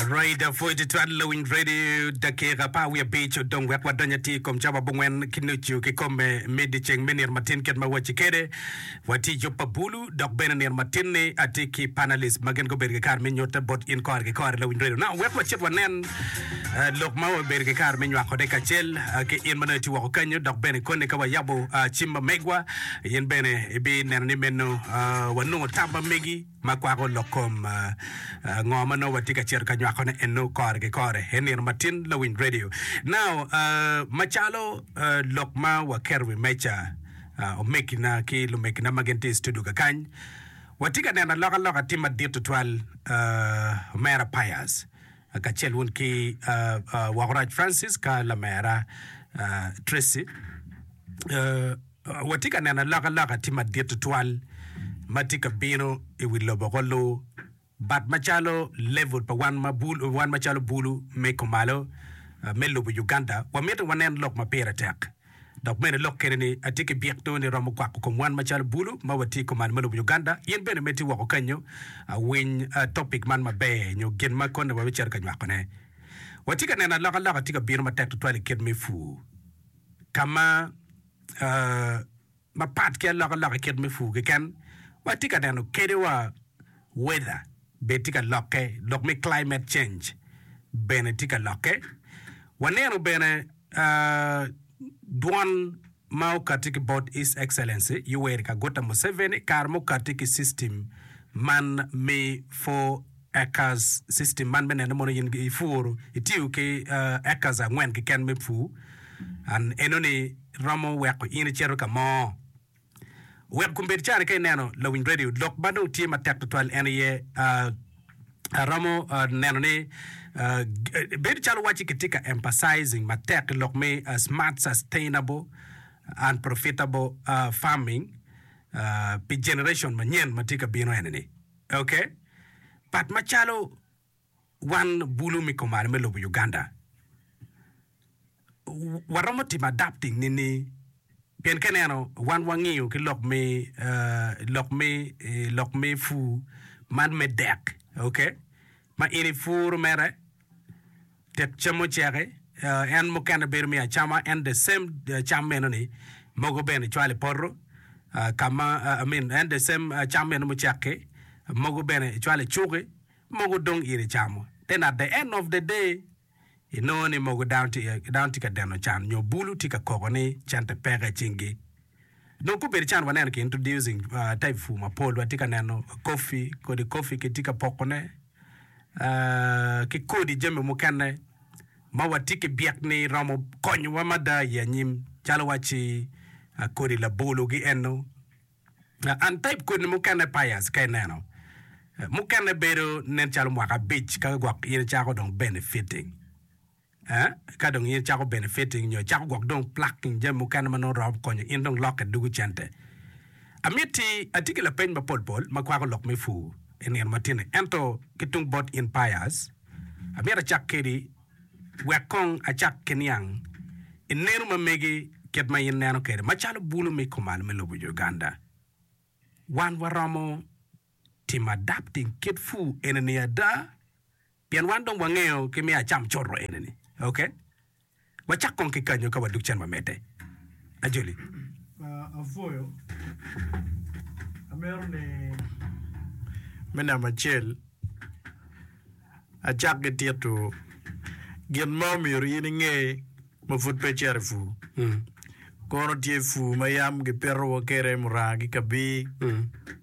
Right, apwoyo tutwal lawiny radio dakika 15 odong wek wadony atir i kom cawa abongwen ki nucu kikome me dyeceng me nino matin kit ma wacci kede. Watye i yub pa bulu dok bene nino matin-ni atye ki panalist ma gin gubedo ki kare me nyutte bot in kore ki kore lawiny radio. Now wek wacit wanen eh, lok ma wabedo ki kare me nywakone kacel eh, ki in ma nongo itye woko kanyo dok bene koni ka wayabo ah, cim ma megwa in bene ibineno ni meno ah, wanongo tam ma megi ma kwako lok kom ah, ah, ngo ma nongo watye ka cito ka nywakone eno kore ki kore i nino matin lawiny radio. Now ah, macalo ah, lok ma waketo wi meja Omegina ki lumegina ma gin tye i studio kakany, watye ka neno alokaloka tye madit tutwal. Omera Pius kacel wun ki Wokorac Francis ka lamera Tracy, watye ka neno alokaloka tye madit tutwal ma tye ka bino i wi lobo ko lu. But macalo level pa wan ma bulu, wan macalo bulu me kumalo me lobo Uganda, wamito wanen lok ma pire tek. Dok bene lok kene ni atye ki byek nongo ni romo kwako kom wan macalo bulu ma watye kumalo me lobo Uganda. In bene ma itye woko kenyo, winy topic man maber nyo gin ma kone wabicito ka nywako ne. Watye ka neno alokaloka tye ka bino matek tutwal i kit me pur ka ma Mapat ki alokaloka i kit me pur keken, watye ka neno kadi wa weather bene tye ka lokke, lok me climate change bene tye ka lokke. Waneno bene dwon ma okatti ki bot His Excellency Yoweri Kaguta Museveni kare ma okatti ki system man me 4 acres system man me neno mono in ipuro itiyo ki acres angwen keken me pur and enoni romo weko in icito ka mo. Wek kombeddi cani ka ineno lawiny radio lok ma dong tye matek tutwal en aye aromo neno ni bedo calo wacci kitye ka emphasizing matek i lok me smart sustainable and profitable farming pi generation manyen ma tye ka bino eni-ni. Ok, but macalo wan bulu me kumalo me lobo Uganda, waromo timo adapting nini? Pien ka ineno wan wangiyo ki lok me lok me lok me pur man me dek, ok, ma in ipuro mere tek cam oceki, en mukene bedo me acama en the same cam meno ni mogo bene icwalo i poto ka ma I mean en the same cam meno mucek-ki mogo bene icwalo i cuki. Mogo dong in icamo. Then at the end of the day, inongo ni mogo dano tye dano tye ka deno can nyo bulu tye ka koko ni cente peke i cinggi. Dong kobedo can waneno ki introducing uh, type pur mapol watye ka neno coffee, kodi coffee kitye ka pokone uh, ki kodi jami mukene ma watye ki byek ni romo konyowa mada i anyim calo wacci uh, kodi labolo gi eno. And type kodi mukene Pius ka ineno mukene bedo nen calo mwaka abic ka gwok in icako dong benefiting eh ka dong in icako benefiting nyo icako gwok dong plucking jami mukene ma nongo romo konyo in dong lokke dugo cente. Amiti atye ki lapeny mapol pol ma kwako lok me pur i nino matini ento ki tung bot in Pius amito acak kedi Wek kong acak ki niang i neno ma megi kit ma in neno kwede macalo bulu me kumalo me lobo Uganda. Wan waromo timo adapting kit pur eni-ni ada? Pien wan dong wangeyo ki me acam coto eni-ni. Ok. Wacak kong ki kanyo ka wadug cen wamedde. Ajoli. Apwoyo. Amito ni me namba acel acak ki tito gin ma omyero in inge ma pud pe icito i pur. Kono tye pur ma yam gipitowa kwede muranga ki kabir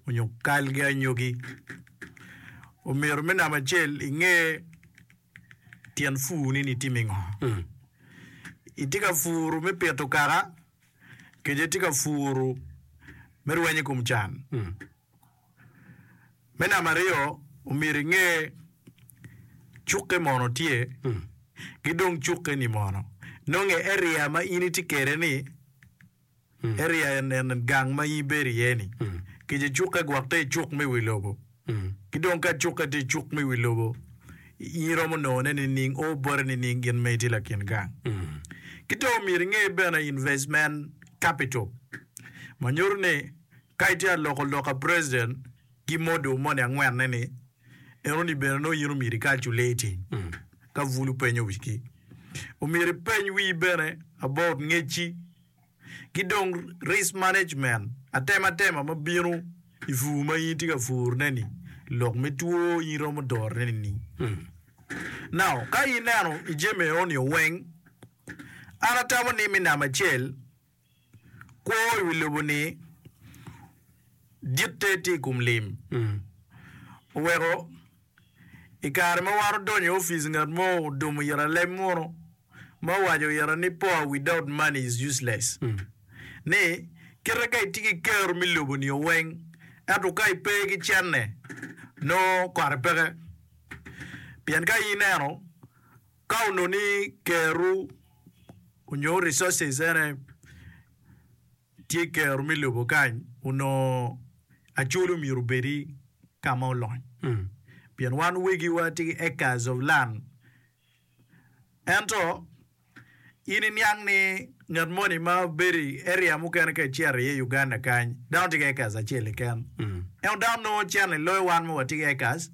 onyo kal ki anyogi. Omyero me namba acel inge tyen pur-ni ni itimo ngo. Itye ka puru me pito kaka kece itye ka puru me rweny i kom can. Me namba aryo, omyero inge cukke mono tye ki dong cukke-ni mono nonge area ma in itye kwede ni area en gang ma in ibedo iye ni kece cukke gwok te i cuk me wi lobo ki dong ka cukke tye i cuk me wi lobo in iromo nongone nining o bote nining gin ma itye lakin gang ki dong myero inge bene investment capital ma nyuto ni Ka itye ka loko lok a president ki model moni angwenne ni. Enoni bene nongo in omyero i calculating ka bulu penyo wigi. Omyero ipeny wii bene about ngecci ki dong risk management, atematema ma bino i pur ma in itye ka purone ni, lok me two in iromo dorone nining. Now, ka ineno i jami enoni weng, an atamo ni me namba acel, Kwo i wi lobo-ni ditte tye i kom lim. Oweko i kare ma wan odonyo i opic ngat mo odumo ira leb muno ma owaco ira ni poor without money is useless. Ni kite ka itye ki kero me lobo-ni weng ento ka ipe ki cente nongo kote peke. Pien ka in ineno Ka onongo ni keru onyo resources ene tye keru me lobo kany onongo Acholi omyero obedi ka ma olony pien wan wegiwa tye ki acres of land ento in iniang ni ngat moni ma bedo i area mukene ka icito iye i Uganda kany dano tye ki acres acel keken ento dano nongo cente loyo wan ma watye ki acres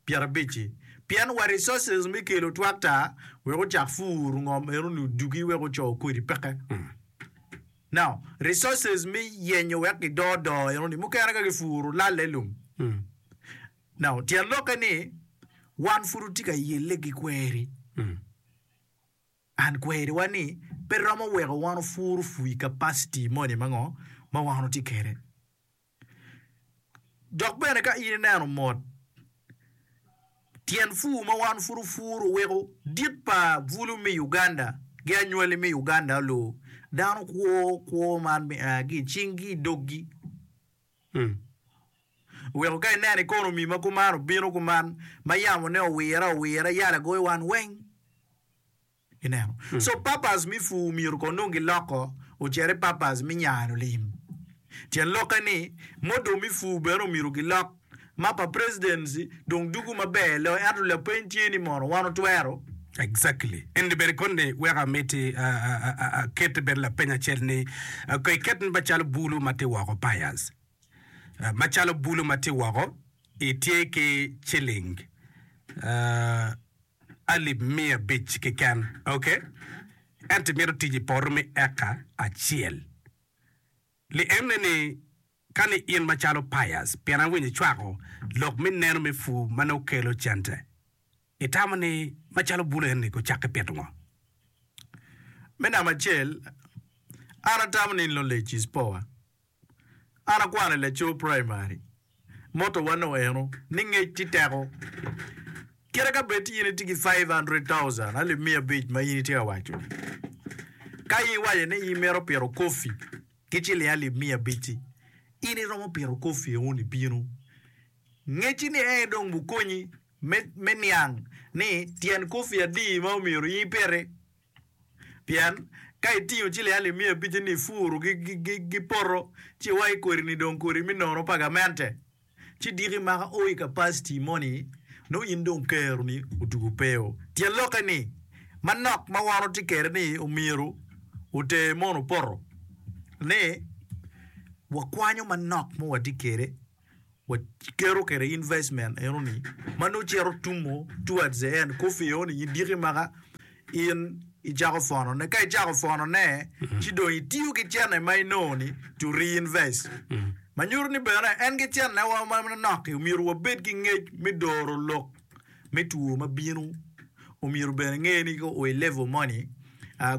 pyerabicci pien wa resources me kelo tractor wek ocak pur ngom eno ni odugi wek oco kodi peke. Now resources me yenyo wek gidor doo eno ni mukene ka gipuro lalle lum. Now tyen lokke ni wan pud watye ka yelle ki kweri. And kweriwa ni pe romo weko wan opur pur i capacity moni ma ngo ma wan watye kwede. Dok bene ka in ineno mot, tyen pur ma wan pud opuro weko dit pa bulu me Uganda ki anywali me Uganda olu dano kwo kwo man me a ki i cinggi i doggi. Weko ka ineno economy ma kuman obino kuman ma yamone owire awira yala goyo wan weng. Ineno? So purpose me pur myero kong dong giloko ocit i purpose me nyano lim. Tyen lokke ni model me pur bene omyero gilok ma pa presidency dong dugu maber loyo ento lapeny tye ni mono wan otwero? Exactly. Eni bene koni weko amiti aket bene lapeny acel ni ko iket ni macalo bulu ma tye woko Pius macalo bulu ma tye woko itye ki ciling alip 500 keken ok ento imito tic i poto me eka acel li ene ni ka ni in macalo Pius pien awinyo icwako lok me neno me pur ma nongo kelo cente itamo ni macalo bulu eni gucakke pito ngo? Me namba acel, an atamo ni knowledge is power. An akwano i laco primary, motto wa nongo eno ni ngec tye teko. Kite ka bed ti in itye ki 500,000, alip 500 ma in itye ka waco ni, ka in iwaco ni in imito pito kofi ki ciling alip 500-ci, in iromo pito kofi eno ni bino. Ngecci ni en dong bukonyi me niang ni tyen kofi adi ma omyero in ipiti. Pien ka itingo ciling alip miya abic-ci ni ipuro ki poto, ci iwaco kodi-ni dong kodi me nono pa gamente, ci diki maka o i kapaciti moni, nongo in dong keroni otugo peo. Tyen lokke ni, manok ma wan watye kwede ni omyero oter mono poto ni wakwanyo manok ma watye kwede. Waketo kwede investment eno ni ma nongo cito tumo towards the end coffee eno ni diki maka in icako pwono ne ka icako pwono ne ci dong itiyo ki cene ma inongo ni to reinvest ma nyuto ni bene en ki cene wa manok-ki omyero wabed ki ngec me doro lok me two ma bino omyero bene inge ni ka oo i level moni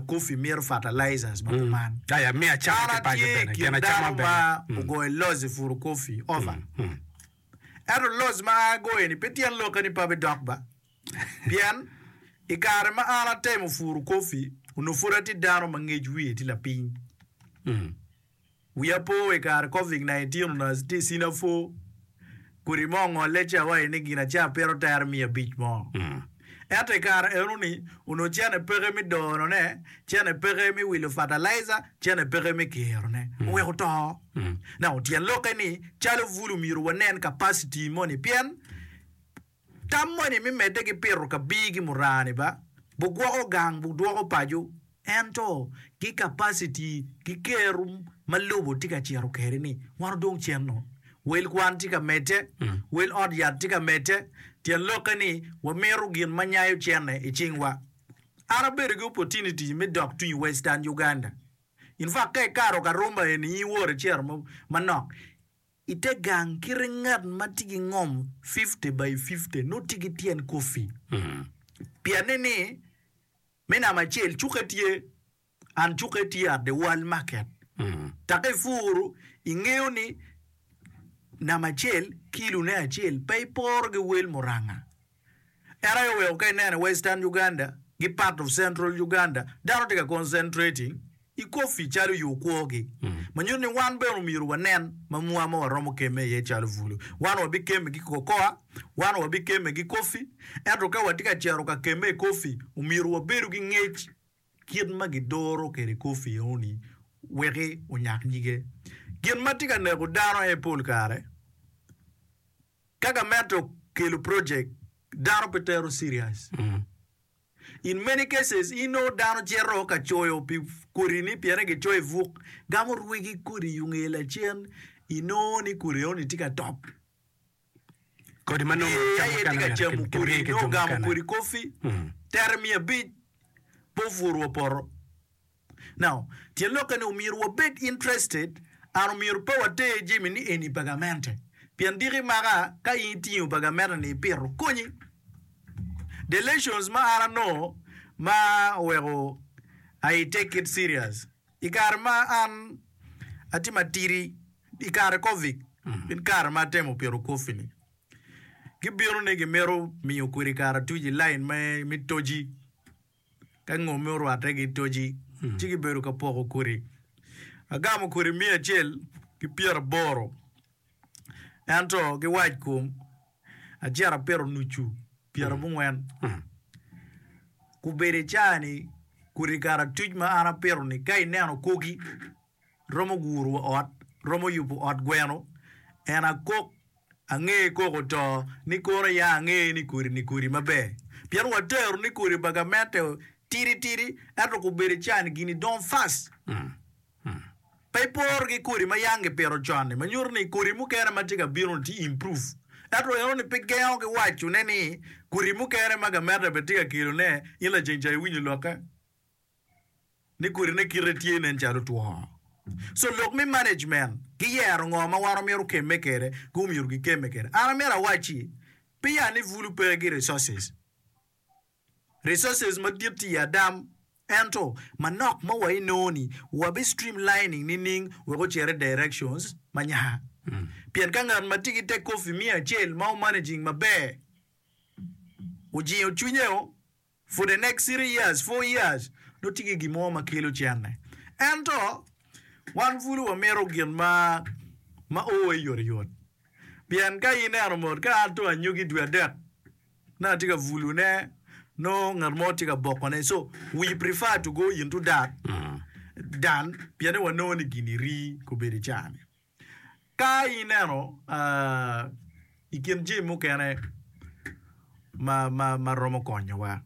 coffee mito fertilizers ma kuman. An atye i kin dano ma ogoyo loss i puro coffee over. Ento loss ma an agoyo ni pe tyen lokke ni pe abidok ba. Pien i kare ma an atemo puro coffee onongo pud atye dano ma ngec wiye tye lapiny. Wiya po i kare Covid 19 onongo atye i Singapore, kodi mo ongolle ci awaco ni gin aca pito tere 500 mo. Ento i kare enoni onongo cene peke me donone, cene peke me wilo fertilizer, cene peke me kirone. Oweko oto. Now tyen lokke ni calo bulu myero wanen capacity moni pien Tam moni me medde ki pito kabir ki murani ba, bugwoko gang, budwoko paco, ento ki capacity ki kero ma lobo tye ka cito kwede ni wan odong cen-nu. Wel kwan tye ka medde, wel ot yat tye ka medde, tyen lokke ni wamito gin ma nyayo cente i cingwa. An abedo ki opportunity me dok tung i Western Uganda. In fact ka ikato Karumba eni in iwot icito manok i te gang kite ngat ma tye ki ngom 50 by 50 nongo tye ki tyen kofi. Pienne ni me namba acel cukke tye and cukke tye at the world market. Take ipuru ingeyo ni namba acel kilo ne acel pe iporo ki wel muranga. En aye oweko ka ineno i Western Uganda ki part of Central Uganda dano tye ka concentrating i coffee calo yo kwogi. Ma nyuto ni wan bene omyero wanen mamwa ma waromo kemme iye calo bulu. Wan wabikemme ki cocoa, wan wabikemme ki coffee, ento ka watye ka cito ka kemme i coffee omyero wabedu ki ngec kit ma gidoro kwede coffee enoni weki onyak nyige. Gin ma tye ka neko dano aye pol kare Ka gamente okelo project, dano pe tero serious. In many cases, inongo dano cito ka coyo pi kodi ni piene gicoyo i buk, gamo rwegi kodi i nge lacen, inongo ni kodi enoni tye ka top. Kodi ma nongo Ee, aye tye ka camo kodi, nongo ogamo kodi kofi, tere 500, pe opuro wa poto. Now, tyen lokke ni omyero wabed interested and omyero pe water jami ni eni pa gamente. Pien diki maka ka in itingo pa gamente ni ipito, konyi. The lessons ma an anongo ma oweko I take it serious i kare ma an atye matidi i kare Covid, in kare ma atemo pito coffee ni, gibino ni gimito miyo kodi karatuc i line me toji. Ka ngomme orwatte ki toci, ci gibedo ka poko kodi. Agamo kodi miya acel ki pyeraboro, ento ki wackom acito apito nucu pyerabongwen. Gubedo i caa-ni kodi karatuc ma an apito-ni ka ineno kogi romo guro wa ot, romo yubo ot gweno, en akok ange koko to ni kono ya ange ni kodi ni kodi maber pien watero ni kodi pa gamente tidi tidi ento kobedo can gini dongo fast pe iporo ki kodi ma yang gipito con ni ma nyuto ni kodi mukene ma tye ka bino ni tye improve ento eno ni pe gengo ki waco ne ni kodi mukene ma gamente bene tye ka kelo ne in laceng ca iwinyo lokke. ni kodine kite tye nen calo two. So lok me management ki yero ngo ma wan omito kemme kede ki omyero gi kemme kede. An amito awacci pe ya ni bulu pe ki resources. Resources madit tye i adam ento manok ma wa inongo ni wabi streamlining nining wek ocit i directions ma nya. Pien ka ngat ma tye ki te coffee miya acel ma o managing maber ojingo cwinye o For the next three years, four years, nongo tye ki gin mo ma kelo cente. Ento, wan pud wamito gin ma ma o oyotoyot. Pien ka ineno mot, ka an dong anyogi dwe adek, nongo atye ka bulune, nongo ngat mo tye ka bokone. So, we prefer to go into that than pien ni wanongo ni gini rii kobedo i caa-ni. Ka ineno i kin jami mukene ma romo konyowa,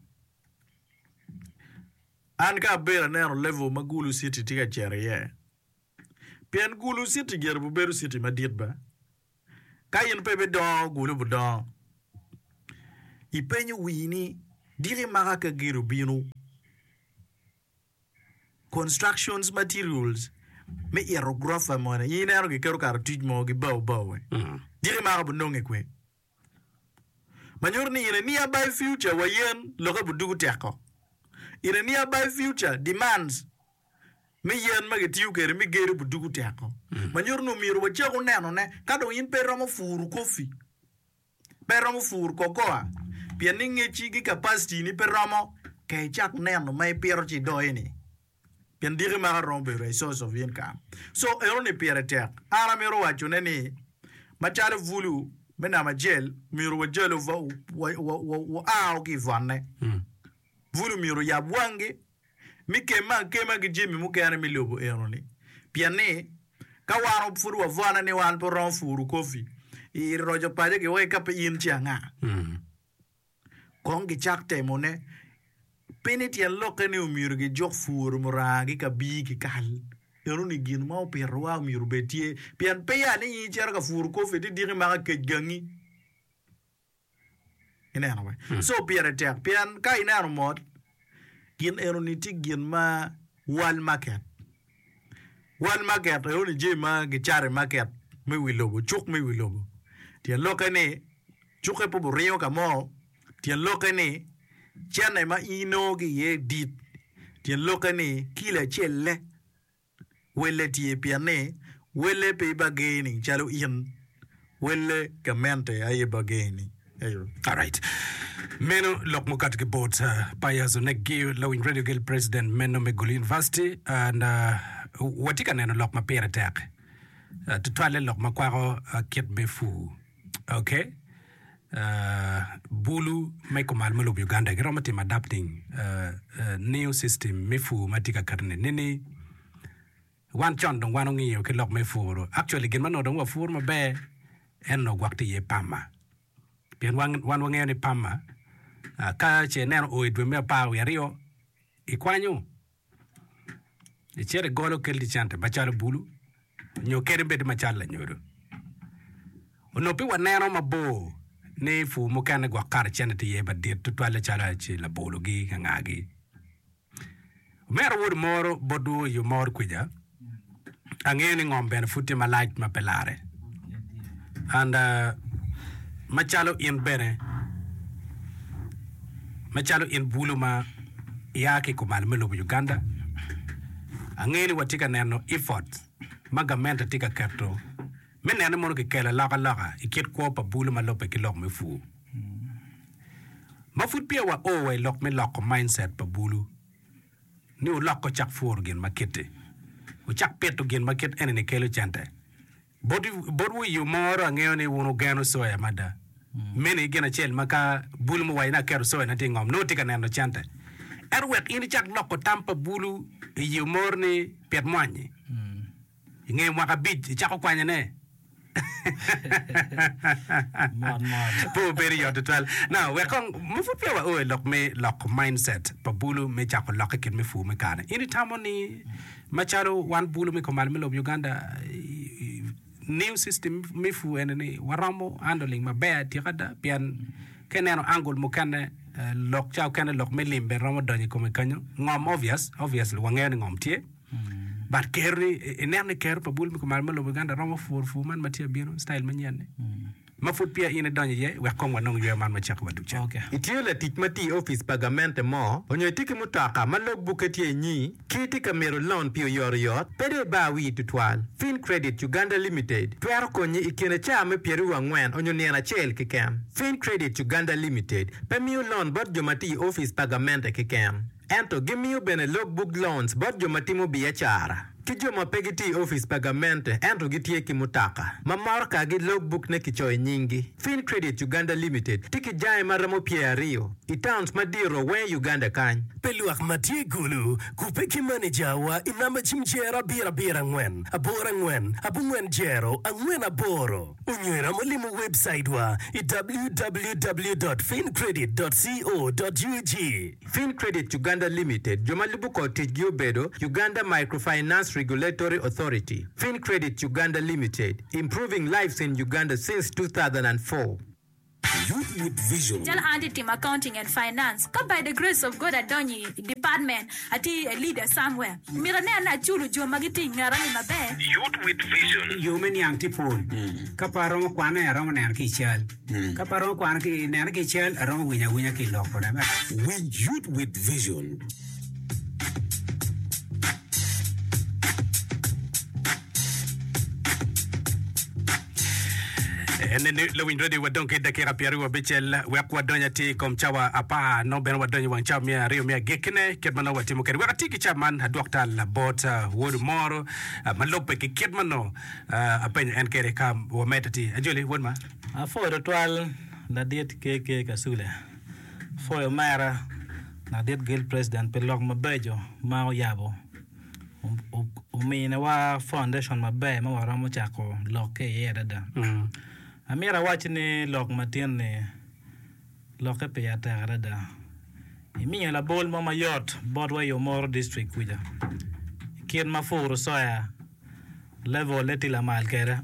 an ka abedo aneno level ma Gulu city tye ka cito iye, pien Gulu city gire obedo city madit ba, ka in pe ibidongo Gulu bidongo, ipenyo wii ni diki maka ka gedo obino. Constructions materials me ito gurofa moni in ineno giketo karatuc mo ki bao bao diki mako bunonge kwe ma nyuto ni in a nearby future wa yen loke budugu teko in a nearby future demands me yen ma gitiyo kwede me gedo budugu teko ma nyuto ni omyero wacaku nenone ka dong in pe iromo puru kofi Pe romo pur cocoa pien ni ngecci ki capacity ni pe romo ka icak neno ma ipito ci idoyo ni pien diki maka romo bedo a source of income. So eno ni pire tek. An amito waco ne ni macalo bulu me namba acel myero wajalo wa ao ki i bwonne. Bulu myero oyab wangi me kemme akema ki jami mukene me lobo eno-ni, pien ni ka wan pud wabwone ni wan pe waromo puro kopi i roco paco giweko ka pe in ci anga? Kong gicak temone. Pe ni tyen lokke ni omyero gijuk puro muranga ki kabir ki kal. Enoni gin ma opitowa myero obed tye pien peya ni in icito ka puro kopi ti diki maka kec gangi. Ineno be? So pire tek pien ka ineno mot gin enoni tye gin ma world market. World market enoni jami ma gicato i market me wi lobo, cuk me wi lobo. Tyen lokke ni cukke pe oringo ka mo, tyen lokke ni cente ma in inongo ki iye dit, tyen lokke ni kilo acel-le welle tye pien ni welle pe bargaining calo in, welle gamente aye bargaining. Eyo. Alright. Meno lok mukato ki bot uh, Pius Oneggi, lawiny Radio Guild President meno me Gulu University and uh, watye ka neno lok ma pire tek uh, tutwalle lok ma kwako uh, kit me pur. Okay. Uh, bulu me kumal me lobo Uganda giromo timo adapting uh, uh, new system me pur ma tye ka katone nini wan con dong wan ongiyo ki lok me puro actually gin ma onongo dong wapuro maber en onongo gwok tye iye pama pien wan, wan wangeyo ni pama uh, ka ce ineno o i dwe me apar wiye aryo ikwanyo Icito igolo kelli cente macalo bulu nyo kadi bed macalo lanyodo. Onongo pe waneno mabor ni pur mukene gwok kare cente tye iye madit tutwalle calo aci labologi ki angagi. Omera wod omoro botwu i omor kwica, angeyo ni ngom bene pud tye malac ma pe larre. And macalo in bene, macalo in bulu ma ia ki i kumalo me lobo Uganda, angeyo ni watye ka neno effort ma gamente tye ka keto me neno ni mono kikelo alokaloka i kit kwo pa bulu ma lubbe ki lok me pur. Ma pud peya wa o wa i lok me loko mindset pa bulu ni wulok wucak puro gin ma kit-ti, wucak pito gin ma kit eni-ni kelo cente. Botwu i yo moro angeyo ni wun wugeno soya mada. Meno aye gin acel ma ka bulu muwaco ni aketo soyana tye i ngom, nongo tye ka neno cente. Ento wek in icak loko tam pa bulu i yo moro ni pit mwanyi, i nge mwaka abic icako kwanyone. Mot mot. Pe obedo yot tutwal. Now, wek kong ma pud peya wao i lok me loko mindset pa bulu me cako lokke kit me pur me kare. In itamo ni Macalo wan bulu me kumalo me lobo Uganda, new system me pur eni ni waromo handling maber atika ada pien ka ineno angle mukene lok ca okene lok me lim bene romo donyo i kome kenyo ngom obvious obviously wangeyo ni ngom tye but kero ni ineno ni kero pa bulu me kumalo me lobo Uganda romo puro pur man ma tye abino style manyen ni. Ma pud peya in idonyo iye, wek kong wanong yweyo man ma cako wa ducu. Itye latic ma tiyo i opic pa gamente mo, onyo itye ki mutoka ma log bukke tye inyi, ki itye ka mito lon pi oyotoyot, pe dong ibar wii tutwal. Fincredit Uganda Limited twero konyi i kine caa me pyeraryo angwen onyo nino acel keken. Fincredit Uganda Limited pe miyo lon bot jo ma tiyo i opic pa gamente keken. Ento gimiyo bene log book loans bot jo ma timo biacara ki jo ma pe gitye i opic pa gamente ento gitye ki mutoka ma morokagi log book ne kicoyo nyinggi. Fincredit Uganda Limited tye ki jange ma romo pyeraryo i towns madito weng i Uganda kany. Pi lwak ma tye i Gulu, kubbe ki manejawa i namba cim jero abiro abiro angwen aboro angwen abongwen jero angwen aboro. Onyo iromo limo webcaitwa i www dot fincredit dot co dot ug. Fincredit Uganda Limited, jo ma lubo kor ticgi obedo, Uganda Microfinance Regulatory Authority, Fincredit Uganda Limited, improving lives in Uganda since 2004. Youth with Vision. Calo an atye timo accounting and finance ka by the grace of God adonyo i department atye a leader somewhere myero anen ni aculo jo ma gitye i ngeta ni maber. Youth with Vision. Yo me niang tye pol. Ka pe aromo kwane, aromo neno ki i cal. Ka pe aromo kwano ki nene ki i cal, aromo winyo awinya ki i lok kode. Winj Youth with Vision. En ni lawiny radio wadong ki dakika pyeraryo abicel wek wadony atir i kom cawa apar nongo bene wadonyo i wang cawa me aryo me agikkine kit ma nongo watimo kwede wek ati ki cawa man adwok tal bot uh, wod moro uh, ma lubbe ki kit ma nongo uh, apenyo en kwede ka wamedde atir ajoli wod ma Apwoyo tutwal ladit KK Kasule. Apwoyo omera ladit Guild President pi lok mabeco ma oyabo. Ominiwa foundation maber ma waromo cako lok ki iye adada. Amito awac ni lok matin-ni lokke pire tek adada. Imiyo labol mo mayot botwa i Omoro District kuca. kit ma puru soya level-le tye lamal kwede.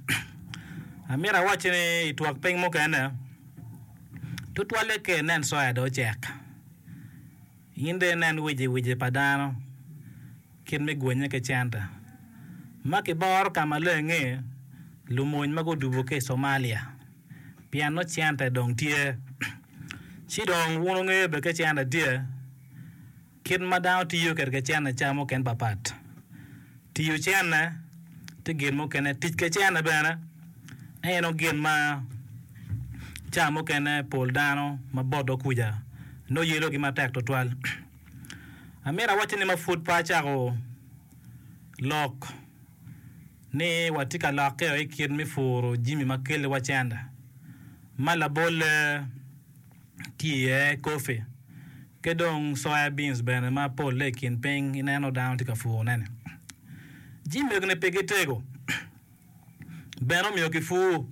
Amito awacci ni i twok piny mukene, tutwalle ka inen soya dong ocek, in dong inen wiciwici pa dano kit me gwenye ki cente. Ma kiboro ka maleng-ngi, lumony ma gudubo ki i Somalia pien nongo cente dong tye. Ci dong wun wungeyo bene ka cente tye, Kit ma dano tiyo kwede ki cente ca mukene papat. Tiyo cente tye gin mukene, tic ki cente bene en aye gin ma ca mukene pol dano ma botwa kuca nongo yelogi matek tutwal. Amito awacci ni ma pud pe acako lok ni watye ka lokke i kit me puro jami ma keliwa cente ma labolle tye iye kopi ki dong soya beans bene ma polle i kin piny ineno dano tye ka purone-ni. Jami mego-ni pigi tego bene omiyo kipur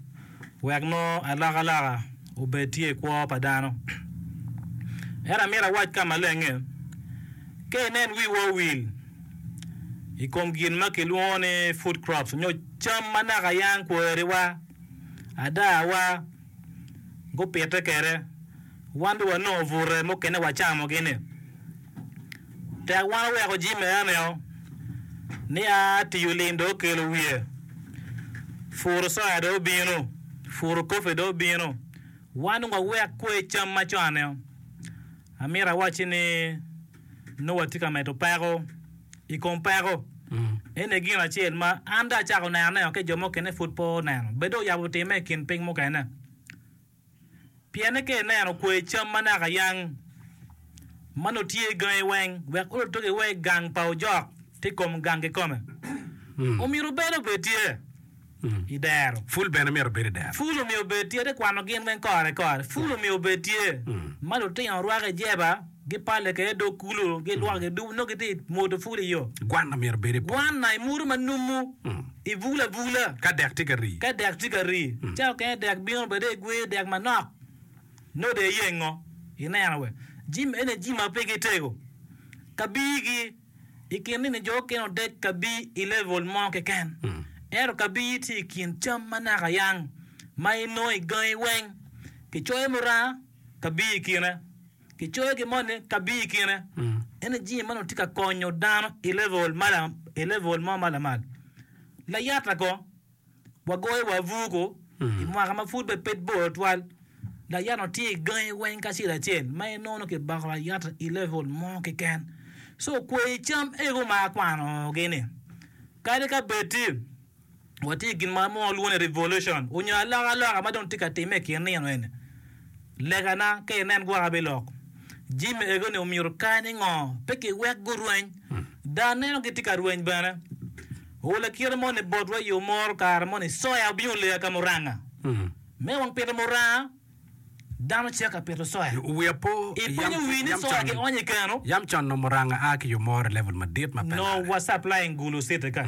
wek nongo alokaloka obed tye i kwo pa dano. Ento amito awac ka maleng-nge, ka inen wiwa owil i kom gin ma kilwongo ni food crops nyo cam ma naka yang kweriwa, adawa, gupite kwede, wan dong wanongo bute mukene wacamogi-ni. Tek wan oweko jami enio ni a tiyo lim dong okelo wiye, puro soya dong obino, puro kopi dong obino, wan dong wawek kwer cam macon-nio. Amito awacci ni nongo watye ka medo peko i kom peko. Eni gin acel ma an dong acako nenone ki jo mukene pud pe oneno. Bed dong oyabo timme i kin piny mukene. Pienne ka ineno kwer cam ma naka yang ma nongo tye i gangi weng wek olo toki wa i gang pa ojok tye i kom gang kikome, omyero bene obed tye. I dero. Pul bene myero obed i dero. Pul omyero obed tye. Atye kwano gin weng kore kore. Pul omyero obed tye. Ma lutino rwako i jeba, gipale kwede i dog kulu, gilwoko gidubo, nongo gitye i mwodo pul i yo. Gwanna myero obed i poto. Gwanna i mutu ma numu, i bul abula. Ka dek tye ka rii. Ka dek tye ka rii. Ca okene dek bino bene igweyo dek manok, nongo dong iyengo, ineno we. Jami eni jami ma pe gitego. Kabigi. I kin nini jo okene odec kabir i level mo keken. Ento kabir tye i kin cam ma naka yang ma inongo i gangi weng. Kicoyo muranga, kabir i kine. Kicoyo gin moni, kabir i kine. Ento jami man tye ka konyo dano i level ma i level mo ma lamal. Layata ko. Wagoyo wa abuku i mwaka ma pud bene pe bor tutwal. Layata tye i gangi weng kacel acel ma inongo kibako layata i level mo keken. So kwer cam ego ma akwanogi ni kadi ka bed ti watye i gin ma walwongo ni revolution onyo alokaloka ma dong tye ka timme i kin nino eni, legana ka inen gwok abilok jami ego ni omyero kany ngo pe kiwek gurweny. Dano neno gitye ka rweny bene. Olo kite moni botwa i yo moro kare moni soya obino oleya ka muranga. Me wang pito muranga, dano cito ka pito soya. Wiya po Ipenyo wi ni soya ki onyo i keno. Yam con nongo muranga a ki yo moro i level madit ma pe No larre. wa supplying Gulu city ka.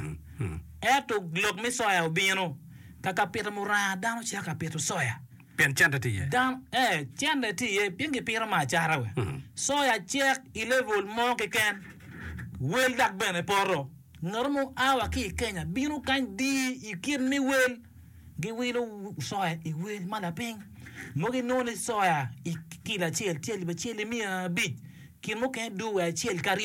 Ento lok me soya obino ka ka pito muranga dano cito ka pito soya. Pien cente tye iye. Dano, ee, cente tye iye pien gipito me acata we. Soya cek i level mo keken, wel dok bene poto. Ngat mo a wa ki i Kenya bino kany di i kit me wel, giwilo soya i wel ma lapiny. Mogo inongo ni soya i kilo acel tye alip acel ki miya abic, kin mukene dwe acel ki aryo.